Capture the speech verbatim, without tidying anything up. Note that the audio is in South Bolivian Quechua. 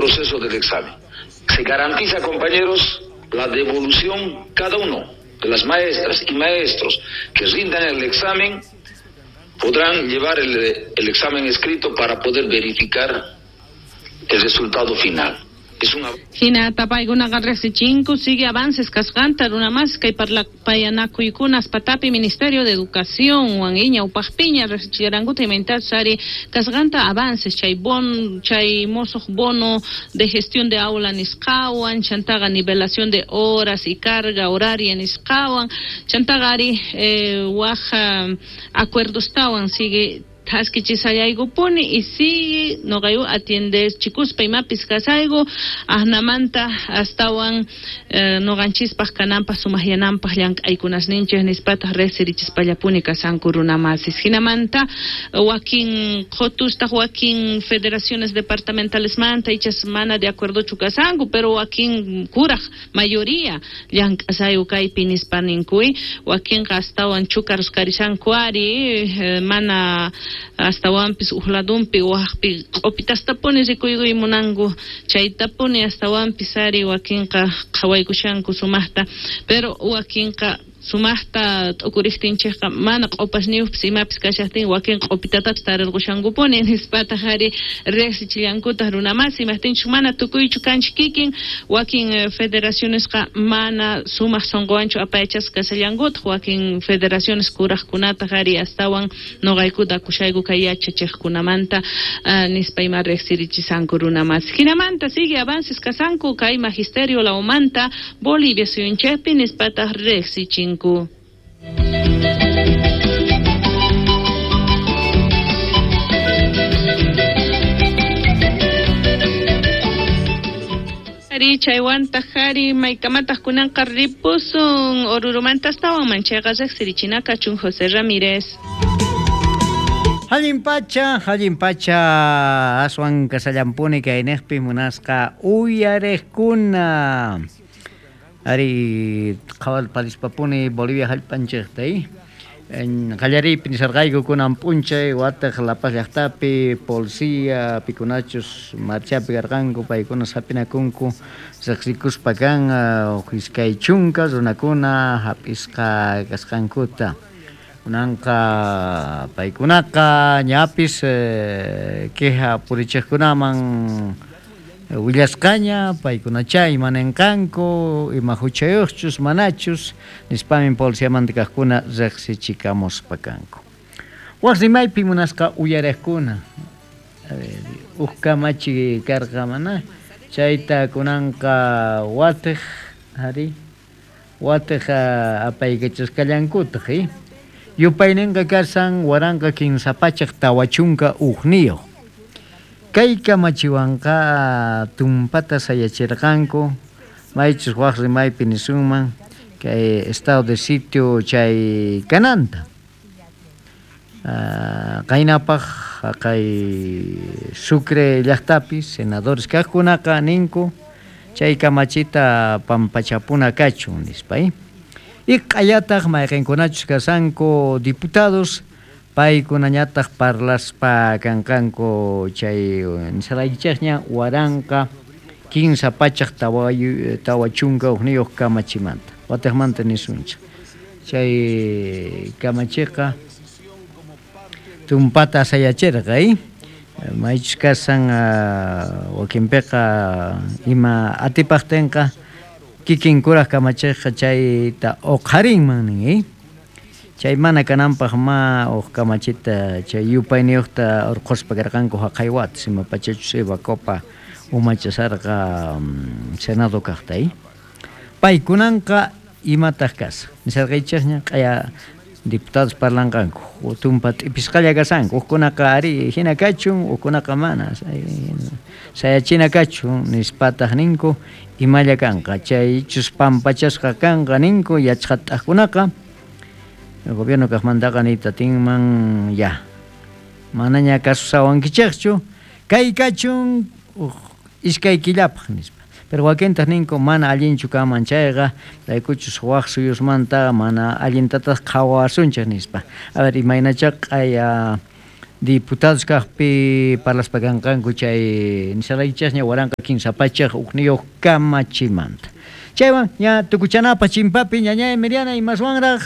proceso del examen. Se garantiza, compañeros, la devolución cada uno de las maestras y maestros que rindan el examen podrán llevar el, el examen escrito para poder verificar el resultado final. Es una... Hinata paykunaqa riqsichinku sigue avances kasqanta runamas kay parlapayanakuykunas patapi Ministerio de Educación wan ñawpaqpiña riqsichirankuta imaynatachus ari kasqanta avances chay bon chay mosuq bono de gestión de aula nisqawan chantaqa nivelación de horas y carga horaria nisqawan chantaqa ari eh, waj acuerdostawan sigue thaskichisallaykupuni y sigue noqayu atiende chikuspa imapis kasayku asnamanta astawan eh, noqanchispaq kananpaq sumaqyananpaq llank'aykunasninchik nispataq riqsirichispallapuni kasanku runamasis hinamanta wakin qhotustaq wakin federaciones departamentalesmanta ichas mana de acuerdochu kasanku pero wakin kuraq mayoría llank'asayku kaypi nispa ninkuy wakinqa astawan chukarus karishanku ari eh, mana astawanpis uqladunpi waqpi q'upitastapuni rikuykuy munanku chaytapuni astawanpis ari wakinqa qhawaykushanku sumaqta pero wakinqa sumaqta t'ukuriqtinchikqa mana q'upasniyuqpis imapis kashaqtin wakin q'upitatapis tarirqushankupuni nispataq ari riqsichillankutaq runamasi imaqtinchik mana tukuychu kanchik kikin wakin federacionesqa mana sumaq sunquwanchu apayachasqa kashallankutaq wakin federaciones kuraqkunataq ari astawan nuqaykuta akushayku kay yachachiqkunamanta uh, nispa ima riqsirichisanku runamasi hinamanta sigue avances kasanku kay magisterio lawmanta Bolivia suyunchikpi nispataq riqsichinku. Ari chaywantaq ari maykamataq kunanqa ripusun Orurumanta astawan manchayqa riqsirichina kachun José Ramírez. Allin pacha, allin pacha, aswan kasallampuni kayniqpi munasqa uyariqkuna. Ari qhawal palispapuni Bolivia hallp'anchikta eh? Qallariypi nisarqayku kunan p'unchay wataq La Paz llaqtapi policía pikunachus marchapi karqanku paykuna hap'inakunku riqsikuspa kan huk iskay chunka runakuna hap'isqa kasqankuta kunanqa paykunaqa ñapis eh, queja purichiqkunaman willasqaña paykunacha imanenqanku ima huchayuqchus manachus nispamin policiamanta kaqkuna riqsichikamuspa kanku. Waq rimaypi munasqa uyariqkuna huk kamachi karqa mana chayta kunanqa watiq ari watiq apaykachasqallankutaq eh? Yupayninqa kasan waranqa kinsa pachak tawa chunka hukniyuq. Kay kamachiwanqa tumpata sayachirqanku maychus waq rimaypi nisunman kay estado de sitio chay kananta uh, qaynapaq kay Sucre llaqtapi senadores kaqkunaqa ninku chay kamachita pampachapuna kachun nispa eh? Y q'ayataq mayqinkunachus kasanku diputados paykunañataq parlaspa kanqanku chay nisaraykichikña waranqa kinsa pachak tawa chunka hukniyuq kamachimanta wataqmanta nisunchik chay kamachiqa tumpata sayachirqa eh? Maychus kasan uh, wakinpiqa ima atipaqtinqa kikin kuraq kamachiqqa chayta uqharinman nin eh? Chay mana kananpaq ma huk kamachita chay yupayniyuqta urquspa karqanku haqay watas ima pachachus Eva Copa umachasarqa um, Senado kaqta eh? Paykunanqa imataq kasa nisarqaychikña q'aya diputados parlanqanku tumpa t'ipisqalla kasanku hukkunaqa ari hina kachun hukkunaqa mana sayachina kachun nispataq ninku imalla kanqa chaychus pampachasqa kanqa ninku yachqat'aqkunaqa el gobierno kaqmantaqa niyta tinman ya manaña kasusawankichikchu kay kachun iskay killapaq nispa pero wakintaq ninku mana allinchu kanman chayqa raykuchus waq suyusmanta mana allintataq qhawasunchik nispa a ver imaynacha q'aya Diputados kajpi parlaspa kanqanku chay nisharaychasña waranqa kinsa pachaj ujniyuq kamachimanta. Chaywan ña tukuchanapa chimpapi, ñañay Miriana, imaswanraj.